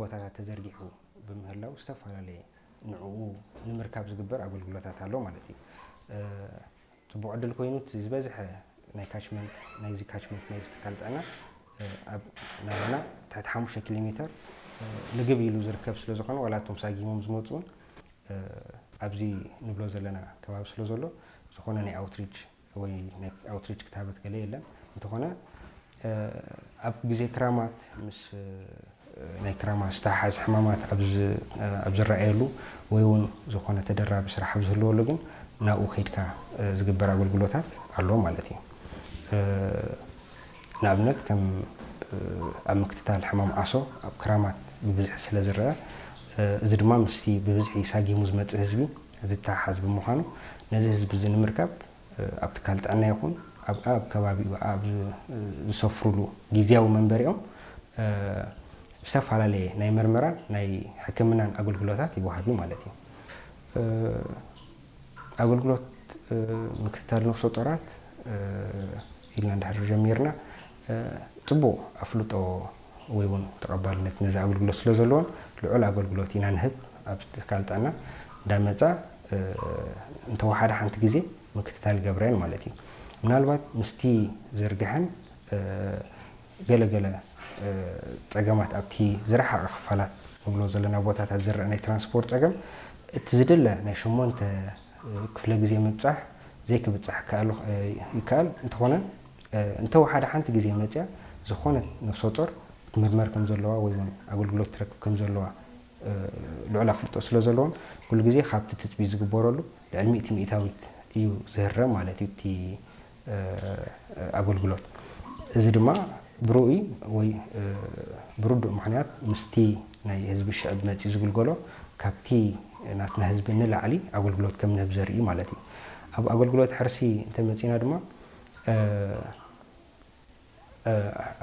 ቦታታት ተዘርጊሑ ብምህላው ዝተፈላለየ ንዕኡ ንምርካብ ዝግበር ኣገልግሎታት ኣሎ ማለት እዩ። ጽቡቕ ዕድል ኮይኑ እቲ ዝበዝሐ ናይ ካችመንት ናይዚ ካችመንት ናይዚ ትካል ጥዕና ኣብ ናባና ትሕቲ ሓሙሽተ ኪሎ ሜተር ልግብ ኢሉ ዝርከብ ስለ ዝኾነ ዋላ እቶም ሳጊሞም ዝመፁ እውን ኣብዚ ንብሎ ዘለና ከባቢ ስለ ዘሎ ዝኾነ ናይ ኣውትሪች ወይ ናይ ኣውትሪች ክታበት ገለ የለን። እንተኾነ ኣብ ግዜ ክራማት ምስ ናይ ክራማት ዝተሓሓዝ ሕማማት ኣብ ዝረኣየሉ ወይ እውን ዝኾነ ተደራቢ ስራሕ ኣብ ዝህልወሉ ግን ናብኡ ከይድካ ዝግበር ኣገልግሎታት ኣሎ ማለት እዩ። ንኣብነት ከም ኣብ ምክትታል ሕማም ዓሶ ኣብ ክራማት ብብዝሒ ስለ ዝረአ፣ እዚ ድማ ምስቲ ብብዝሒ ሳጊሙ ዝመፅእ ህዝቢ ዝተሓሓዝ ብምዃኑ ነዚ ህዝቢ እዚ ንምርካብ ኣብ ትካል ጥዕና ይኹን ኣብ ኣብ ከባቢኡ ኣብ ዝሰፍሩሉ ግዝያዊ መንበሪኦም ዝተፈላለየ ናይ መርመራን ናይ ሕክምናን ኣገልግሎታት ይወሃብ እዩ ማለት እዩ። ኣገልግሎት ምክትታል ነፍሰ ጡራት ኢልና እንድሕር ጀሚርና ፅቡቕ ኣፍልጦ ወይ እውን ተቐባልነት ነዚ ኣገልግሎት ስለ ዘለዎን ልዑል ኣገልግሎት ኢና ንህብ ኣብ ትካል ጥዕና እንዳመፃ እንተወሓደ ሓንቲ ግዜ ምክትታል ይገብረን ማለት እዩ። ምናልባት ምስቲ ዝርግሐን ገለገለ ፀገማት ኣብቲ ዝረሓቐ ክፋላት ንብሎ ዘለና ቦታታት ዝረአ ናይ ትራንስፖርት ፀገም እቲ ዝድለ ናይ ሸሞንተ ክፍለ ግዜ ምብፃሕ ዘይክብፃሕ ይከኣል። እንተኾነ እንተወሓደ ሓንቲ ግዜ መፅያ ዝኾነት ነፍሰ ጡር ክትምርመር ከም ዘለዋ ወይ እውን ኣገልግሎት ትረክብ ከም ዘለዋ ልዑል ኣፍልጦ ስለ ዘለዎን ኩሉ ግዜ ካብቲ ትፅቢት ዝግበረሉ ልዕሊ ሚእቲ ሚእታዊት እዩ ዝህረ ማለት እዩ እቲ ኣገልግሎት። እዚ ድማ ብርኡይ ወይ ብርዱእ ምኽንያት ምስቲ ናይ ህዝቢ ሽዕብ መፂኡ ዝግልገሎ ካብቲ ናትና ህዝቢ ንላዕሊ ኣገልግሎት ከም ንህብ ዘርኢ ማለት እዩ። ኣብ ኣገልግሎት ሕርሲ እንተመፂና ድማ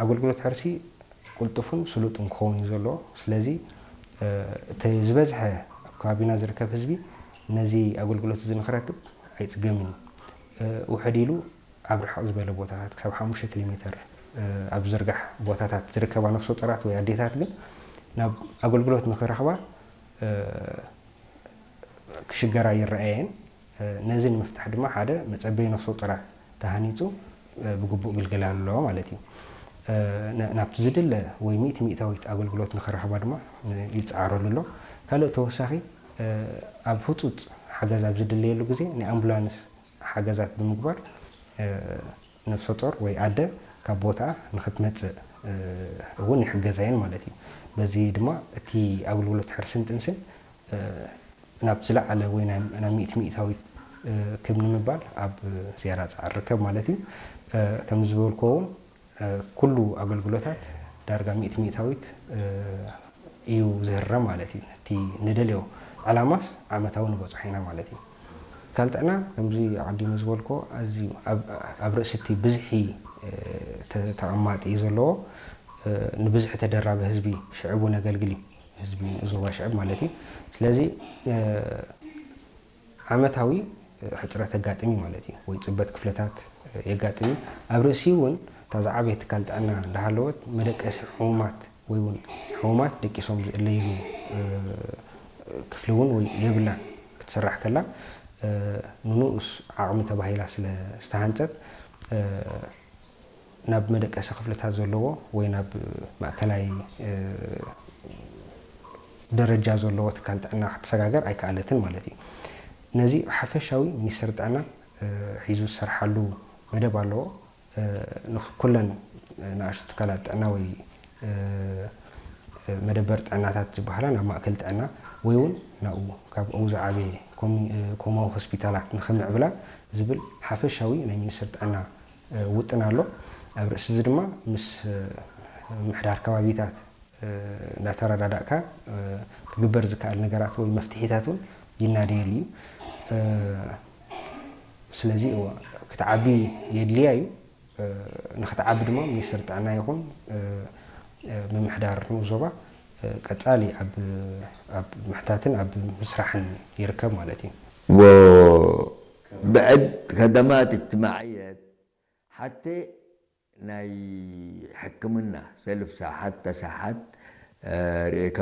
ኣገልግሎት ሕርሲ ቅልጡፍን ስሉጥን ክኸውን እዩ ዘለዎ። ስለዚ እቲ ዝበዝሐ ኣብ ከባቢና ዝርከብ ህዝቢ ነዚ ኣገልግሎት እዚ ንክረክብ ኣይፅገምን እዩ። ውሕድ ኢሉ ኣብ ርሕቕ ዝበለ ቦታታት ክሳብ ሓሙሽተ ኪሎ ሜተር ኣብ ዝርጋሕ ቦታታት ዝርከባ ነፍሰ ጡራት ወይ ኣዴታት ግን ናብ ኣገልግሎት ንክረኽባ ክሽገራ ይረኣየን። ነዚ ንምፍታሕ ድማ ሓደ መፀበዪ ነፍሰ ጡራት ተሃኒፁ ብግቡእ ግልገል ኣሎ ማለት እዩ። ናብቲ ዝድለ ወይ ሚእቲ ሚእታዊት ኣገልግሎት ንክረኽባ ድማ ይፀዓረሉ ኣሎ። ካልእ ተወሳኺ ኣብ ህፁፅ ሓገዝ ኣብ ዝድለየሉ ግዜ ናይ ኣምቡላንስ ሓገዛት ብምግባር ነፍሰ ጡር ወይ ኣደ ካብ ቦታ ንክትመፅእ እውን ይሕገዛየን ማለት እዩ። በዚ ድማ እቲ ኣገልግሎት ሕርስን ጥንስን ናብ ዝለዓለ ወይ ናብ ሚእቲ ሚእታዊት ክብ ንምባል ኣብ ዝያዳ ፃዕሪ ርከብ ማለት እዩ። ከም ዝበልክዎ እውን ኩሉ ኣገልግሎታት ዳርጋ ሚእቲ ሚእታዊት እዩ ዝህረ ማለት እዩ። እቲ ንደልዮ ዕላማስ ዓመታዊ ንበፅሖ ኢና ማለት እዩ። ትካል ጥዕና ከምዚ ኣቐዲመ ዝበልክዎ ኣዝዩ ኣብ ርእሲ እቲ ብዝሒ ተቐማጢ እዩ ዘለዎ። ንብዝሒ ተደራቢ ህዝቢ ሽዕቡ ነገልግል እዩ። ህዝቢ ዞባ ሽዕብ ማለት እዩ። ስለዚ ዓመታዊ ሕፅረት ኣጋጥም እዩ ማለት እዩ። ወይ ፅበት ክፍለታት የጋጥም እዩ። ኣብ ርእሲ እውን እታ ዝዓበየ ትካል ጥዕና እንዳሃለወት መደቀሲ ሕሙማት ወይ እውን ሕሙማት ደቂሶም ዝእለይሉ ክፍሊ እውን ወይ የብላን ክትስራሕ ከላ ንንኡስ ዓቕሚ ተባሂላ ስለ ዝተሃንፀት ናብ መደቀሲ ክፍልታት ዘለዎ ወይ ናብ ማእከላይ ደረጃ ዘለዎ ትካል ጥዕና ክትሰጋገር ኣይከኣለትን ማለት እዩ። ነዚ ሓፈሻዊ ሚኒስትሪ ጥዕና ሒዙ ዝሰርሓሉ መደብ ኣለዎ። ኩለን ንኣሽቱ ትካላት ጥዕና ወይ መደበር ጥዕናታት ዝበሃላ ናብ ማእከል ጥዕና ወይ እውን ናብኡ ካብ ኣብኡ ዝዓበየ ኮማዊ ሆስፒታላት ንኽምዕብላ ዝብል ሓፈሻዊ ናይ ሚኒስትሪ ጥዕና ውጥን ኣሎ። ኣብ ርእሲ እዚ ድማ ምስ ምምሕዳር ከባቢታት እንዳተረዳዳእካ ክግበር ዝከኣል ነገራት ወይ መፍትሒታት እውን ይናደየሉ እዩ። ስለዚ ክትዓቢ የድልያ እዩ። ንክትዓቢ ድማ ሚኒስትሪ ጥዕና ይኹን ምምሕዳር ንኡስ ዞባ ቀፃሊ ኣብ ምሕታትን ኣብ ምስራሕን ይርከብ ማለት እዩ። وبعد خدمات اجتماعية حتى ናይ ሕክምና ሰልፍ ሳሓት ተሳሓት ርእካ